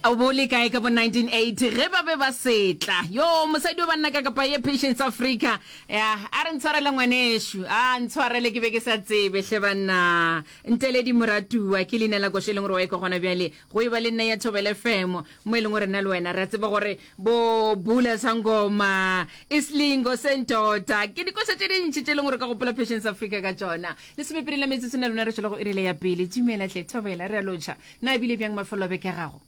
O bo le kae ka bo 1980 ge ba be ba setla? Yo, mosadi wa banna ka kapa ye Patience Africa. Ya, a re ntshwarele ngwanešu. A ntshwarele ke be ke sa tsebe hle banna. Nteledi Moratuwa ke leina la koša e leng gore wa e kwa gona bjale. Go e ba le nna ya Thobela FM mo e leng gore nna le wena re a tseba gore bo Bula Sangoma, Isilingo Sendoda ke dikoša tše dintši tše e leng gore ka gopola Patience Africa ka tšona. Lesomepedi la metsotso na lona re tšwela go irile ya pele. Dumela hle Thobela, re a lotšha. Na e bile bjang mafelo a beke ya gago?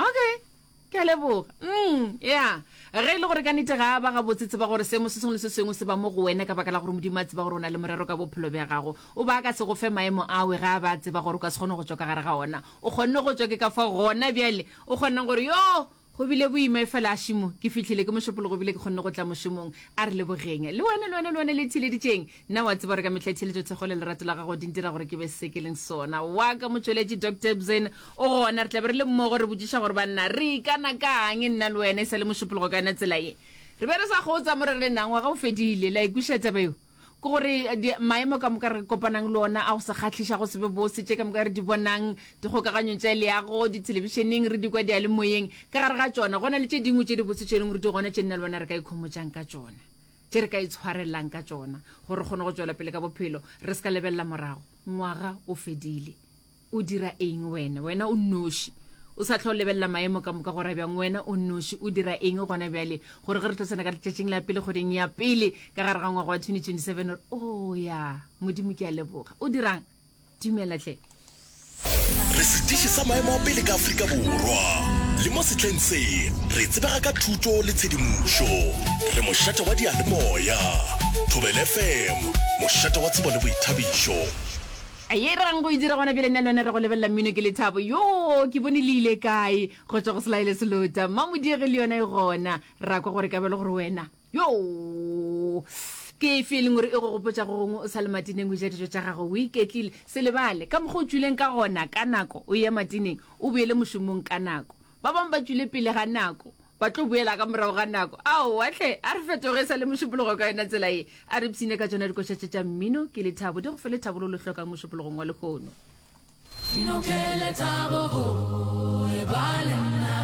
Okay, ke a leboga. Mm, ya. Ge e le gore ka nnete ga a ba gabotse, tseba gore seemo se sengwe le se sengwe se ba mo go wena ka baka la gore Modimo a tseba gore o na le morero ka bophelo bja gago. O ba a ka se go fe maemo awe ge a ba a tseba gore o ka se kgone go tšwa ka gare ga ona. O kgonne go tšwa, ke ka fao gona bjale o kgonang gore, Yoo! Go bile boima efela Šimo, ke fihlile ke mošupologo ebile ke kgonne go tla mošomong. A re lebogeng. Le wena, le wena, le wena le theeleditšeng. Nna wa tseba gore ka mehla theeletšo, thekgo le lerato la gago di ntira gore ke be se ke leng sona. Wa ka motšweletši Doctor Ebzeni o gona. Re tla be re le mmogo re botšiša gore banna re ikana ka'ng nna le wena e sa le mošupologo ka yona tsela ye. Re be re sa kgotsa mo re re na ngwaga o fedile. Le a e kwešiša taba yeo? Ke gore di, maemo ka moka re kopanang le ona a go se kgahliša, go se be bose, tše ka moka re di bonang dikgokaganyong tša leago, dithelebišeneng, re di kwa diyalemoyeng, ka gare ga tšona go na le tše dingwe tše dibotse tše e leng gore di gona tše nna le wena re ka ikhomotšang ka tšona, tše re ka itshwarelelang ka tšona gore re kgone go tšwela pele ka bophelo, re se ka lebelela morago. Ngwaga o fedile. O dira eng wena? Wena o nnoši. O sa hlwa o lebelela maemo ka moka gore a bjang. Wena o nnoši. O dira eng gona bjale? Gore ge re tlo tsena ka letšatšing la pele kgweding ya pele ka gare ga ngwaga wa 2027, gore, Oh, ya, Modimo ke a leboga. O dirang? Dumela hle. Re setiši sa maemo a pele ka Afrika Borwa. Le mo sehleng se, re tsebega ka thuto le tshedimošo. Re mošate wa diyalemoya. Thobela FM, mošate wa tsebo le boithabišo. Ye rang go e dira gona bjale nna le wena re go lebelela mmino ke lethabo. Yoo, ke bone le ile kae go tšwa go Selaele Selota. Mmamodiegi le yona e gona. Ra kwa gore ka bjalo gore wena. Yoo! Ke efe e leng gore e go gopotša go gongwe o sa le matineng o ja dijo tša gago o iketlile. Se lebale, ka mokgwa o tšwileng ka gona ka nako o eya matineng, o boele mošomong ka nako. Ba bangwe ba tšwile pele ga nako, ba tlo boela ka morago ga nako. Aowa hle, a re fetoge e sa le Mošupologo ka yona tsela ye. A re ipshine ka tšona dikoša tše tša mmino. Ke lethabo, di go fe lethabo lo le hlokang Mošupologong wa lehono. Mmino ke lethabo go e ba le nna.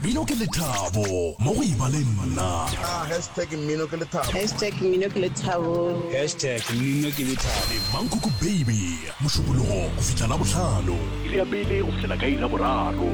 Mmino ke lethabo mo go e ba le nna. Ah, hashtag mmino ke lethabo. Hashtag mmino ke lethabo. Hashtag mmino ke lethabo. Le Mankoko Baby, Mošupologo go fihla Labohlano. Iri ya pele go fihlela ka iri ya boraro.